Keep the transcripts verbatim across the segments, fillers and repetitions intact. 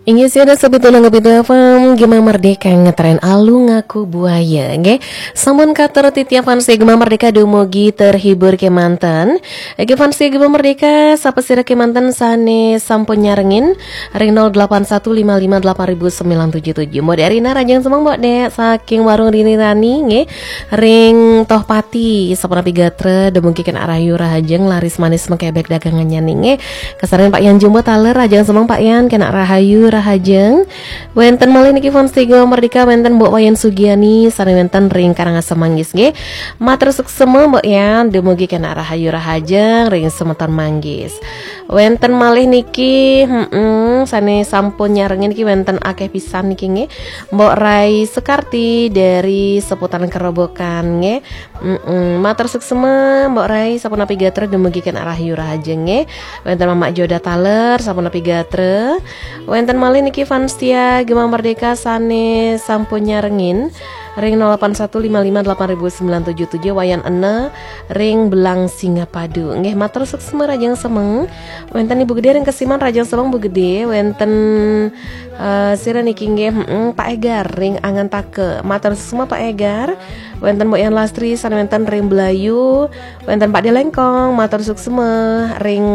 Inggih, sia dasa pitu nang pitu F M, Gema Merdeka ngetren Alu Ngaku Buaya, nggih. Sampun katur titiang fans Gema Merdeka dumugi terhibur kemanten. Nggih, fans Gema Merdeka, sapa sira kemanten sane sampun nyarengin ring nol delapan satu lima lima delapan ribu sembilan tujuh tujuh. Mbok Dek Rina, rahajeng semeng, Mbok Dek, saking Warung Rini Rani, nggih. Ring Tohpati, sapunapi gatra, dumugi kenak rahayu rahajeng, laris manis mengkebek dagangannya, nggih. Kasarengin Pak Yan Jumbo taler, rahajeng semeng Pak Yan, kenak rahayu rahajeng. Wenten malih niki fans Gema Merdeka, wenten Mbok Wayan Sugiani, sane wenten ring Karangasem Manggis, nggih. Matur suksema Mbok Yan, dumugi kenak rahayu rahajeng ring semeton Manggis. Wenten malih niki, mm sane sampun nyarengin niki wenten akeh pisan niki, nggih. Mbok Rai Sekarti dari seputaran Kerobokan, nggih. Mm-mm. Matur suksema, Mbok Rai, sapunapi gatra dumugi kenak rahayu rahajeng, nggih. Wenten Mamak Joda taler, sapunapi gatra. Wenten malih niki fans setia Gema Merdeka sane sampun nyarengin ring nol delapan satu lima lima delapan ribu sembilan tujuh tujuh, Wayan Ene ring Belang Singapadu. Nggih, matur suksema, rahajeng semeng. Wenten Ibu Gede ring Kesiman, rahajeng semeng Bu Gede. Wenten, eh, sira niki, nggih, mm, Pak Egar ring Angantaka. Matur suksema Pak Egar. Wenten Mbok Yan Lastri sane wenten ring Belayu. Wenten Pak Delengkong, matur suksema ring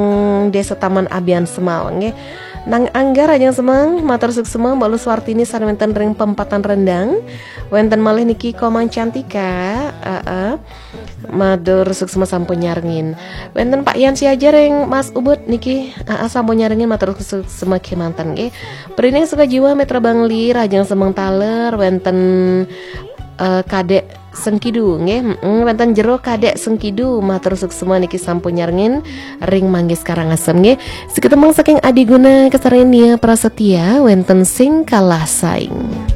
Desa Taman Abian Semau, nggih. Nang Angga, rahajeng semeng, matur suksema Mbok Lu Suartini sane wenten ring Pempatan Rendang. Wenten malih niki Komang Cantika, heeh. Matur suksema sampun nyarengin. Wenten Pak Yan Siaja ring Mas Ubud niki, heeh, sampun nyarengin, matur suksema kemanten, nggih. Prining Sukajiwa, Mitra Bangli, rahajeng semeng taler, wenten, eh, Kadek Sengkidu, nggih. Mm-mm, wenten Jero Kadek Sengkidu, matur suksema niki sampun nyarengin ring Manggis Karangasem, nggih. Sekitemang saking Adiguna, kasarengin Nia Prasetya, wenten Sing Kalah Saing.